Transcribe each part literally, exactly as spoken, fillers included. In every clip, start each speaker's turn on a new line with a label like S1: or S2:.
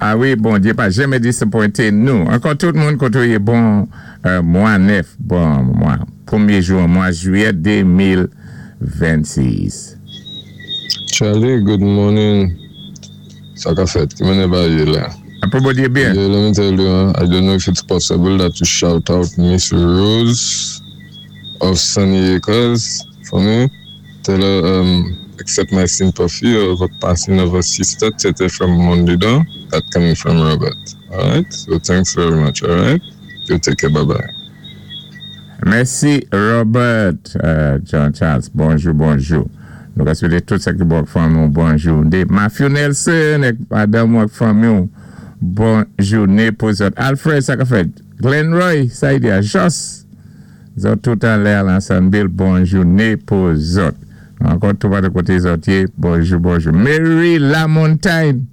S1: A wi, Bondyé pa janmè disapwenté nou. Ankò tout moun kotoyé bon euh, mwa nèf, bon mwa, pwémyé jou mwa jwiyè de mil vennsis.
S2: Charlie, good morning. Sa ka fèt, ki mènè bagay la?
S1: Apwé Bondyé byen.
S2: Yeah, let me tell you, huh, I don't know if it's possible that you shout out Miss Rose of Sunny Acres for me. Tell her, um, accept my sympathy of a passing of her sister, Tete from Mondidon. That coming from Robert. Alright? So thanks very much, alright? You take care, bye-bye.
S1: Mèsi Robert euh, John Charles. Bonjou, bonjou. Nou ka swété tout sa ki bon fanmi bonjou. Dé Matthew Nelson èk madanm ak fanmi bon jouné pou zòt. Alfred, sa ka fèt. Glenn Roy, sa y di a Jos. Zòt tout anlè a Lansonville, bon jouné pou zòt. Ankò tout pa de koté zòt yé, bonjou, bonjou. Mary Lamontagne.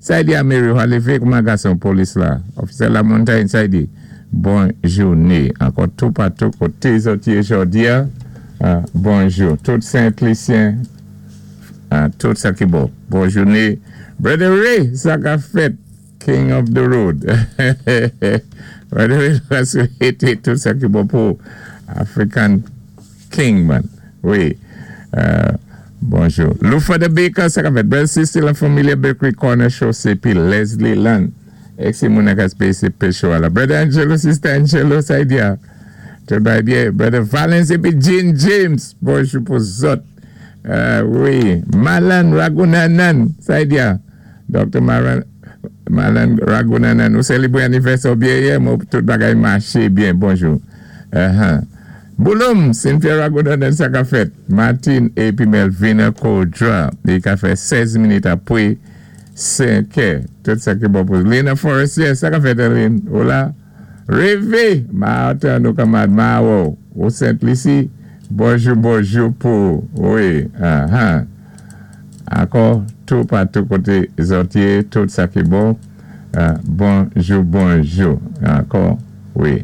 S1: Sa y di a Mary, ou lévé kouman gason polis la. Officer Lamontagne, sa y di. Bon jouné. Ankò tout patou koté zòt yé jòdi a. Ah, bonjou. Tout Saint-Lucien, ah, tout sa ki bon. Bon jouné. Brother Ray, sa ka fèt. King of the road. Brother Ray, va swété tout sa ki bon pou African King, man. Wi. Euh, bonjou. Lufa the Baker, sa ka fèt. Brother Sister, la Familia Bakery Corner Show, C P Leslie Land. Ex moun ka Space Show la. Brother Angelo, Sister Angelo, sa y di a. Tout bagay byen. Brother Valence épi Jean James. Bonjou pou zòt. Euh, wi. Malan Ragunanan. Sa y di a. Doctor Malan, Malan Ragunanan. Nou sélébwé anivèsè byen yè, mwen tout bagay maché byen. Bonjou. Uh-huh. Bouloum, Cynthia Ragunanan, sa ka fèt. Martin épi Melvina Kodra. Li ka fè sèz minit apwé senk è. Tout sa ki bon pou Lena Forestier, sa ka fèt, Aline. Hola. Révé, Martin nou kamad Mawo, ou Saint-Lucie. Bonjou, bonjou pou, wi, uh-huh. Ankò, tout patou koté zòt yé, tout sa ki bon. Uh, bonjou, bonjou. Ankò, wi.